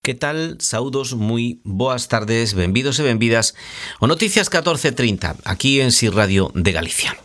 Que tal? Saúdos, moi boas tardes, benvidos e benvidas o Noticias 14:30, aquí en Si Radio de Galicia.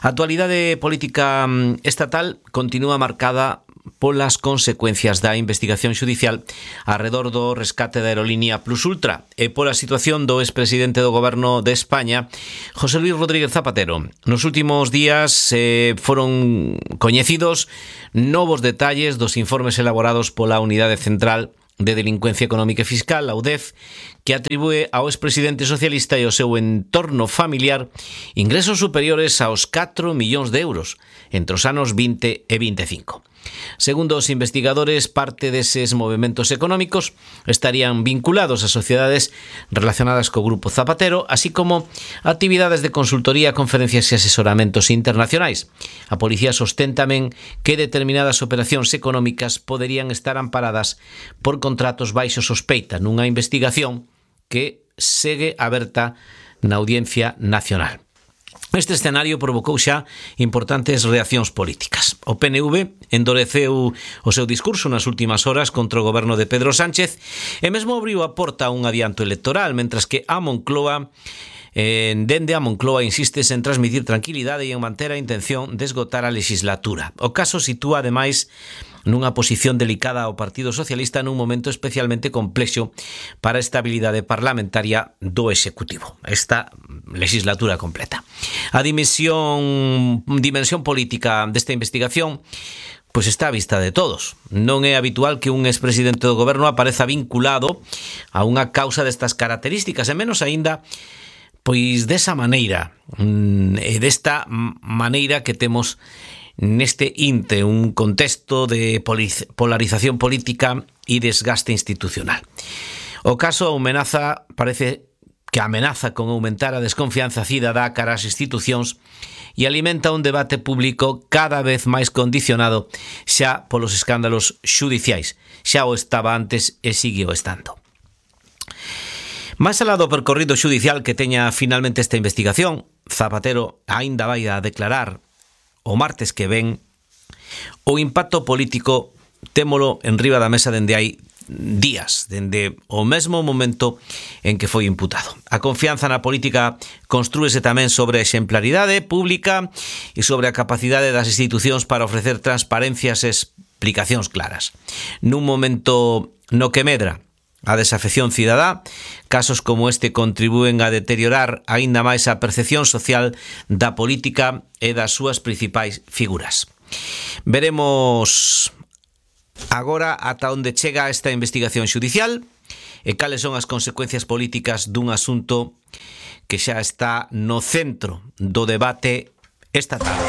A actualidade política estatal continúa marcada polas consecuencias da investigación xudicial arredor do rescate da aerolínea Plus Ultra e pola situación do expresidente do Goberno de España, José Luis Rodríguez Zapatero. Nos últimos días foron coñecidos novos detalles dos informes elaborados pola Unidade Central de Delincuencia Económica e Fiscal, a UDEF, que atribúe ao expresidente socialista e ao seu entorno familiar ingresos superiores aos 4 millóns de euros entre os anos 20 e 25. Segundo os investigadores, parte deses movementos económicos estarían vinculados a sociedades relacionadas co Grupo Zapatero, así como actividades de consultoría, conferencias e asesoramentos internacionais. A policía sostén tamén que determinadas operacións económicas poderían estar amparadas por contratos baixo sospeita nunha investigación que segue aberta na Audiencia Nacional. Este escenario provocou xa importantes reaccións políticas. O PNV endureceu o seu discurso nas últimas horas contra o goberno de Pedro Sánchez e mesmo abriu a porta a un adianto electoral, mentras que a Moncloa dende a Moncloa insistes en transmitir tranquilidade e en manter a intención de esgotar a legislatura. O caso sitúa, ademais, nunha posición delicada ao Partido Socialista nun momento especialmente complexo para a estabilidade parlamentaria do Executivo, esta legislatura completa. A dimensión política desta investigación pois está á vista de todos. Non é habitual que un expresidente do goberno apareza vinculado a unha causa destas características, e menos aínda pois desa maneira, e desta maneira que temos neste inte, un contexto de polarización política e desgaste institucional. O caso parece que amenaza con aumentar a desconfianza cidadá cara ás institucións e alimenta un debate público cada vez máis condicionado xa polos escándalos xudiciais. Xa o estaba antes e sigue o estando. Máis alá do percorrido xudicial que teña finalmente esta investigación, Zapatero aínda vai a declarar o martes que ven. O impacto político témolo en riba da mesa dende hai días, dende o mesmo momento en que foi imputado. A confianza na política construíse tamén sobre a exemplaridade pública e sobre a capacidade das institucións para ofrecer transparencias e explicacións claras. Nun momento no que medra a desafección cidadá, casos como este contribúen a deteriorar aínda máis a percepción social da política e das súas principais figuras. Veremos agora ata onde chega esta investigación xudicial e cales son as consecuencias políticas dun asunto que xa está no centro do debate estatal.